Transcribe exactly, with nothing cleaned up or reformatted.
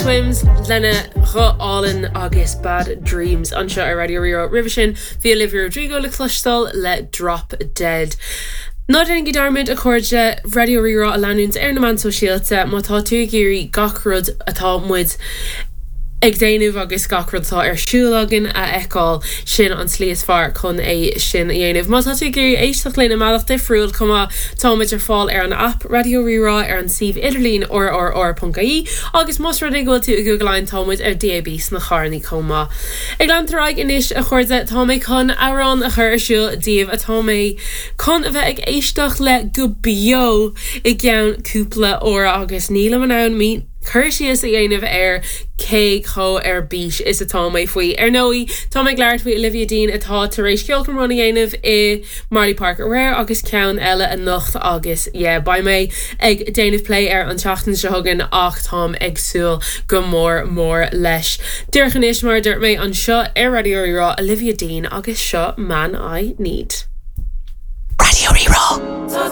Swims lena ghuth álainn agus Bad Dreams anseo ar Raidió Rí-Rá roimhe sin bhí Olivia Rodrigo le cloisteáil le Drop Dead. Ná déanaigí dearmad a chairde Raidió Rí-Rá a leanúint ar na meáin shóisialta má tá tú ag iarraidh gach rud atá muid ag déanamh agus gach rud atá ar siúl againn a fheiceáil sin an tslí is fearr chun é sin a dhéanamh. Má tá tú ag iarraidh éisteacht linn i mbealach difriúil chomh maith táimid ar fáil ar an app Raidió Rí-Rá ar an suíomh idirlín rrr.ie agus más rud é go bhfuil tú i Google Line táimid ar DAB sna carranna chomh maith. Ag leanúint ar aghaidh anois a chairde tá mé chun amhrán a chur ar siúl daoibh atá mé chun a bheith ag éisteacht le go beo i gceann cúpla uair agus nílim in ann mí cur síos a dhéanamh ar cé chomh ar bís is atá mé faoi. Ar ndóigh tá mé ag labhairt faoi Olivia Dean atá tar éis ceolchoirm a dhéanamh i Marlay Park aréir agus ceann eile anocht agus yeah, beidh mé ag déanamh plé ar an tseachtain seo chugainn ach táim ag súil go mór mór leis. Díreach anois mar dúirt mé anseo ar Raidió Rí-Rá Olivia Dean agus seo Man I Need. Raidió Rí-Rá.